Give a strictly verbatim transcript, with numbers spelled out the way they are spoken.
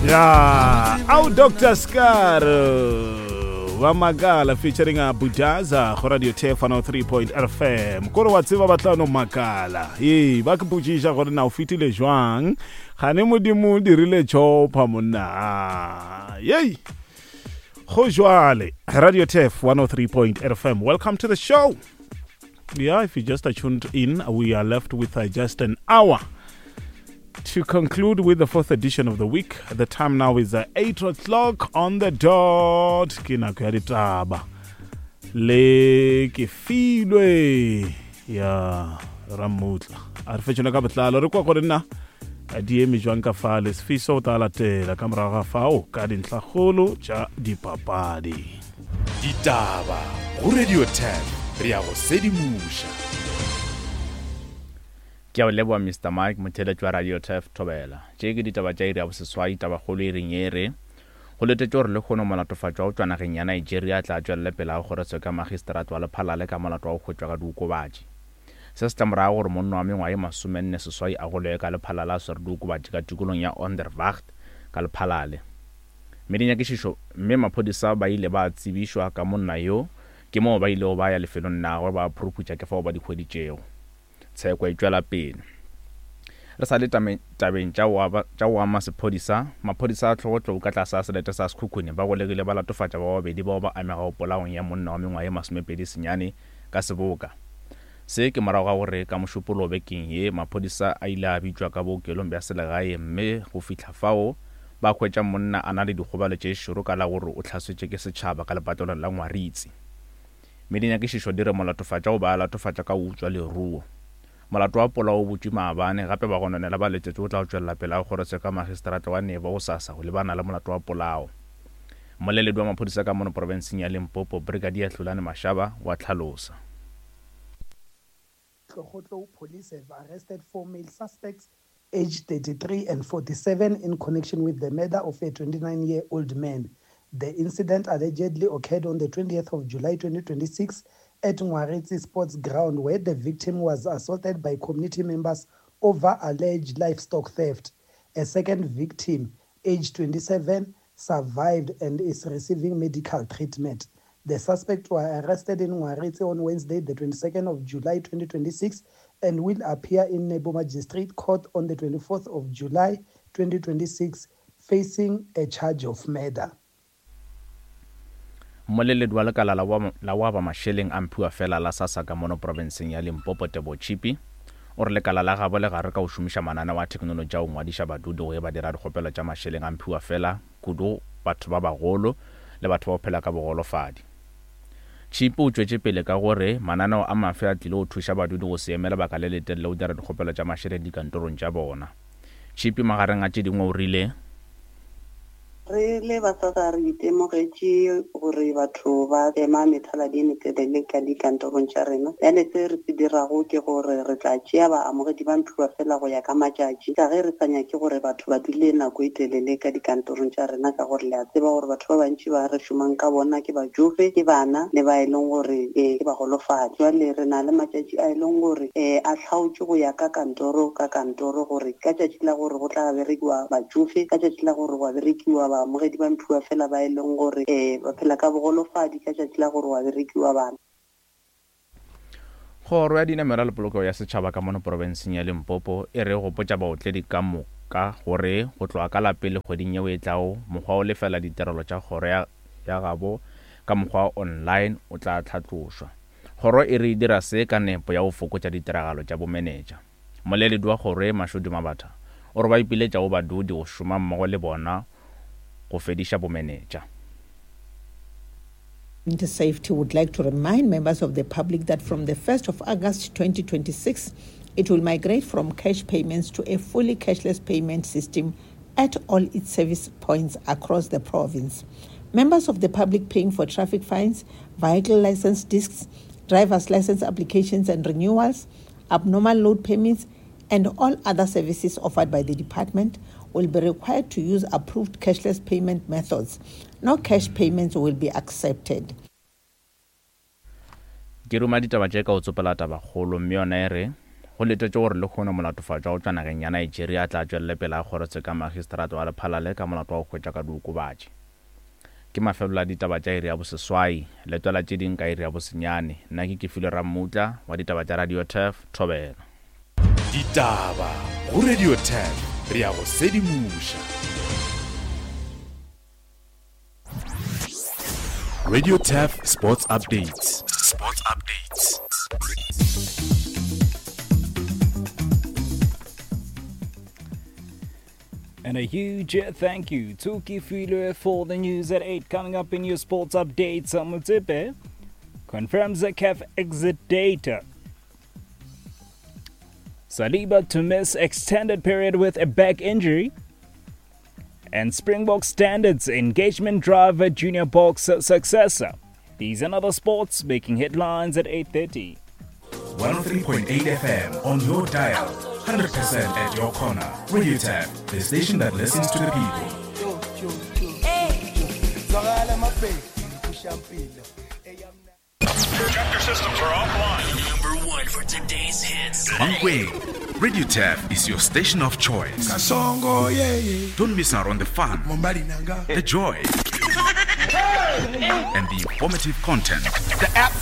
Ya, au Doctor Scar ba Makala featuring a Budaza go Radio Turf one oh three point F M. Kore wa tseba ba tla no makala. Ee, ba ke potšiša gore na o fetile jwang. Gane Modimo o dirile chopa monna. Yei. Go jwale Radio Turf one oh three point F M. Welcome to the show. Yeah, if you just tuned in, we are left with uh, just an hour to conclude with the fourth edition of the week. The time now is uh, eight o'clock on the dot. Ke nako ya ditaba. Le ke filwe ya Ramutla. A re fetšone ka botlalo re kwa gore nna di eme jwang ka fale. Sefiso o tla latela ka morago ga fao ka dintlhakgolo tša dipapadi. Ditaba go Radio ten, re ya go sedimoša. Ke a o leboa, Mister Mike. Motheletši wa Radio Turf, thobela. Tše ke ditaba tša iri ya boseswai. Tabakgolo e reng e re go letetše gore lehono molatofatšwa wa go tšwa nageng ya Nigeria a tla tšwelele pele ga kgorotsheko ya magistrate wa Lephalale ka molato wa go hwetšwa ka diokobatši. Se se tla morago gore monna wa mengwaga e masomenne seswai a goloye ka Lephalale a swere diokobatši ka tikolong ya Onderwacht ka Lephalale, mme dinyakišišo mme maphodisa ba ile ba tsebišwa ka monna yo, ke moo ba ilego ba ya lefelong la gagwe ba phuruputša, ke fao ba di hweditšego. Tsheko e tšwela pele. Re sa le tabeng tša go ama sephodisa, maphodisa a Tlhogotlou ka tlase a selete sa Sekhukhune ba golegile ba latofatša ba babedi bao ba amegago polaong ya monna wa mengwaga e masomepedi senyane ka seboka. Se ke morago ga gore ka Mošupologo bekeng ye maphodisa a ile a bitšwa ka bookelong bja selegae, mme go fihla fao ba hwetša monna a na le dikgobalo tše šoro ka la gore o hlasetšwe ke setšhaba ka lepatlelong la Ngwaritsi, mme dinyakišišo di re molatofatša o ba a latofatša ka go utswa leruo. Molato wa polao o butšwe maabane. Gape bagononela ba letetše o tla tšwelela pele ga kgorotsheko ya magistrate wa Nebo gosasa go lebana le molato wa polao. Mmoleledi wa maphodisa ka mono profenseng ya Limpopo, Brigadier Hlulani Mashaba, wa tlhalosa. Tlogotlo police have arrested four male suspects aged thirty-three and forty-seven in connection with the murder of a twenty-nine-year-old man. The incident allegedly occurred on the twentieth of July twenty twenty-six at Ngwaritsi Sports Ground, where the victim was assaulted by community members over alleged livestock theft. A second victim, aged twenty-seven, survived and is receiving medical treatment. The suspects were arrested in Ngwaritsi on Wednesday, the twenty-second of July twenty twenty-six, and will appear in Nebo Magistrate Court on the twenty-fourth of July twenty twenty-six, facing a charge of murder. Mmoleledi wa lekala la wa ba mašeleng a mphiwa fela la SASSA ka mono profenseng ya Limpopo, Tebo Chipi, o re lekala la gabo le gare ka go šomiša mananeo a theknolotši a go ngwadiša badudi go e ba dira dikgopelo tša mašeleng a mphiwa fela, kudu batho ba bagolo le batho ba go phela ka bogolofadi. Chipi o tšwetše pele ka gore mananeo a mafe a tlile go thuša badudi go se eme lebaka le letelele go dira dikgopelo tša mašeleng dikantorong tša bona. Chipi magareng a tše dingwe o rile: Re le ba SASSA re itemogetše gore batho ba ema methaladi e metelele ka dikantorong tša rena. Bjale se re se dirago ke gore re tla tšea baamogedi ba mphiwa fela go ya ka matšatši, ka ge re sa nyake gore batho ba dule nako e telele ka dikantorong tša rena, ka gore le a tseba gore batho ba bantši ba re šomang ka bona ke batšofe, ke bana le ba e leng gore um ke bagolofadi. Jwale re na le matšatši a e leng gore um a hlaotše go ya ka kantoro ka kantoro, gore ka tšatši la gore go tla berekiwa batšofe, ka tšatši la gore go a berekiwa baamogedi ba mphiwa fela ba e leng gore um ba phela ka bogolofadi, ka tšatši la gore wa berekiwa bana. Kgoro ya Dinamela le Polokego ya Setšhaba ka mono profenseng ya Limpopo e re gopotša baotledi ka moka gore go tloga ka lapele kgweding yeo e tlago, mokgwa o lefela ditirelo tša kgoro ya, ya gabo ka mokgwa wa online o tla tlhatlošwa. Kgoro e re e dira se ka nepo ya go fokotša ditiragalo tša bomenetša. Mmoleledi wa kgoro e, Mashodi Mabatha, o re ba ipiletša go badudi go šoma mmogo le bona go fediša bomenetša. Safety would like to remind members of the public that from the first of August twenty twenty-six, it will migrate from cash payments to a fully cashless payment system at all its service points across the province. Members of the public paying for traffic fines, vehicle license discs, driver's license applications and renewals, abnormal load permits, and all other services offered by the department will be required to use approved cashless payment methods. No cash payments will be accepted. Ke ruma ditaba tše ka go tsopela tabakgolo, mme yona e re Go letetšwe gore lehono molatofatšwa go tšwa nageng ya Nigeria a tla tšwelele pele a kgorotse ka magistrata wa Lephalale ka molato wa go hwetša ka diokobatši. Ke mafelelo a ditaba tša iri ya boseswai. Letwela tše ding ka iri ya bosenyane. Nna ke Kefilwe Rammutla wa ditaba tša Radio Turf, Thobela. Ditaba go Radio Turf, re ya go sedimoša. Radio Turf Sports Updates. Sports Updates. And a huge thank you to Kefilwe for the news at eight. Coming up in your sports updates, Motsepe confirms the C A F exit date. Saliba to miss extended period with a back injury. And Springbok Standards engagement driver Junior Boks successor. These and other sports making headlines at eight thirty. one oh three point eight F M on your dial. one hundred percent at your corner. Radio Tap, the station that listens to the people. Chapter systems are offline. Number one for today's hits. Mankweng, Radio Tap is your station of choice. Kasongo, yeah, yeah. Don't miss out on the fun, the joy, and the informative content. The app